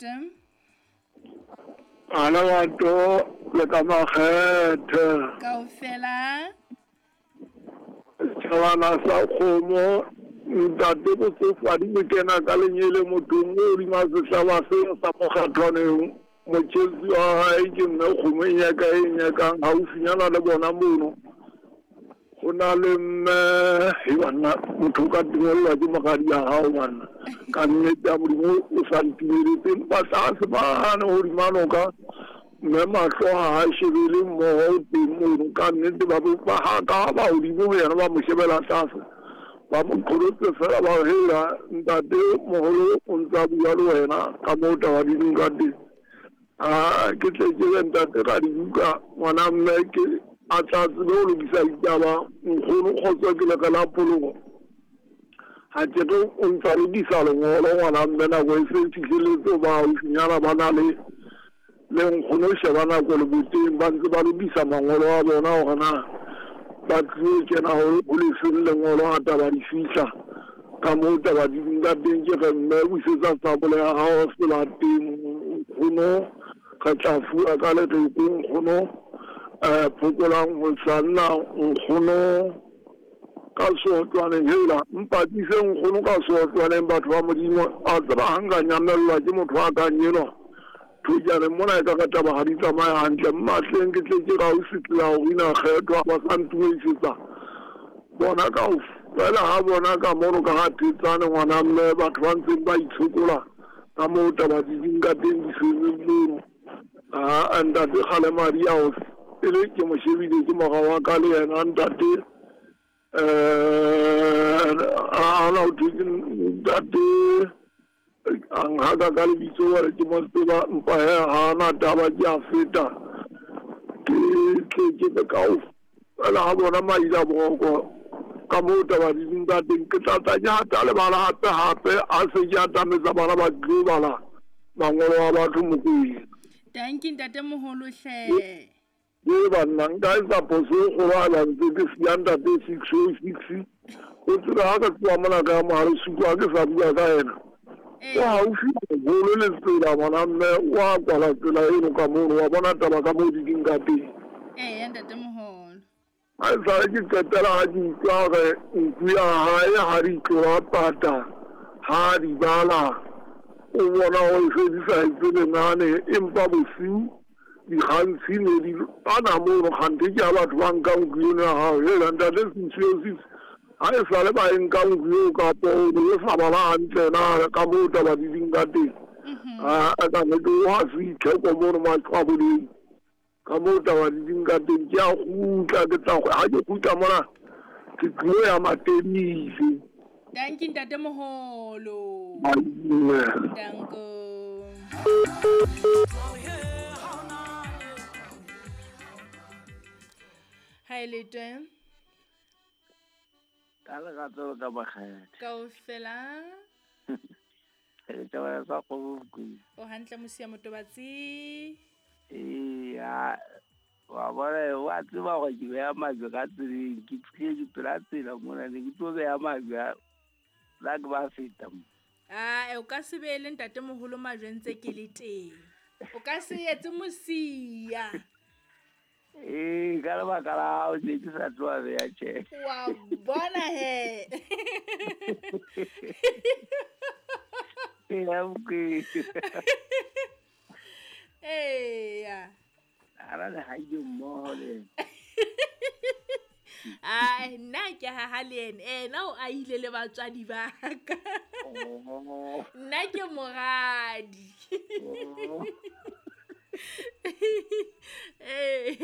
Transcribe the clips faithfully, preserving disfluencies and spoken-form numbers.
lete. Ala batho le ka makgethe. Kaofela. Setjhabana sa kgomo ntate botsofadi bo kena ka lenyele mothong o hodima sehlaba seo sa mokgathwaneng. Motjhetsi wa hae ke mme kgomo e nyaka e nyakang haufinyana le bona mono. Ho na le mme he banna motho o ka tingwellwa ke moradi ya hao banna. Ka nnete ya Modimo o sa ntimeletse empa tlase mane hodima noka mme mahlo ha a shebele mmoho o teng mono. Ka nnete ba ba haka ba hodimo ho yena ba mo shebela tlase. Ba mo qholotse fela ba re hela ntate moholo o ntsa bua le wena ka moo taba di leng ka teng. Ah, ke tle ke re ntate ka dibuka ngwana mme ke a tla tsebe ho lokisa ditaba nkgono kgotso ke leka la poloko. Ha ke re o ntsa lokisa lengolo ngwana mme nako e se fihleletse ba haufinyana ba na le le nkgono sheba nako le boteng ba ntse ba lokisa mangolo a bona hore na ba tlilo kena ho lefeng lengolo ha taba di fihla. Ka moo taba di leng ka teng ke re mme busetsa sabole ya hao selateng nkgono re tla fuwa ka lereko nkgono eh phokolang ho sanna nkgono ka sotlwaneng hela mpatise nkgono ka sotlwaneng batho ba Modimo a tseba ha nka nyamellwa ke motho a kang enwa thujane mona e ka ka taba ha di tsamaya hantle mmatleng ke tle ke ausi tsela ho ina kgethwa ba sa ntumedisetsa bona kaofela ha bona ka mono ka ha thetsane ngwana mme batho ba ntseng ba itshokola ka moo taba di leng ka teng di setseng mono. Ah, ntate kgale madi ao e le ke mo shebile ke mora wa ka le yena ntate eh a na o thwe ke ntate a nhaka ka lebitso wa re ke mo tseba mpa he ha na taba ke a feta ke tle ke be kaofela ha bona maila boroko ka moo taba di leng ka teng ke tla tla ke hata le bala hape hape a se ke atametsa bana ba tlo bala mangolo a batho Mokwena. Dankie ntate moholo hle. Ke banna nka etsa phoso e kgolo ha ba ntse ke siya ntate six oh six. O tseba ha ka tloha mona ka mohare suku ha ke sa bua ka yena. O haufi haholo le tsela ngwana mme wa kwala tsela eno ka mono wa bona taba ka moo di leng ka teng. Eya ntate moholo. Ha esale ke qetela ha ke utlwa hore nku ya hae ha di tloha pata ha di bala o bona hore se di sa etse lenane empa bosiu dikgantshi ne di ana mono kganthe ke ya batho ba nkang nku eno ya hao. Hela ntate six oh six ha esale ba e nka nku eo kapo o ne o sa bala hantle na ka moo taba di leng ka teng. Ah, ka nnete o ha se itheko mono maqwaboleng ka moo taba di leng ka teng ke a kgutla ke tla ha ke kgutla mona ke tlilo ya Matebise. Dankie ntate moholo. Danko. Hi lete. Ka lerato ka makgethe. Kaofela. Ke taba sa kgomo Mokwena. O hantle mosia motobatsi. Eya wa bona wa tseba hore ke beha majwe ka tseleng ke tlile ke pela tsela mona ne ke tlo beha majwe la ke ba feta mo. Ah, o ka se beele ntate moholo majwe ntse ke le teng. O ka se etse mosia. Ee, ka lebaka la hao ne ke sa tloha beha tjhe. Wa bona he. Eya Mokwena. Eya. Ara le haide mmoho le. Ai, nna ke haha le ena. Ena o ahile le batswadi ba ka. Nna ke moradi. Eh.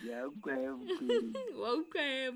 Ya utlwa he Mokwena. Wa utlwa he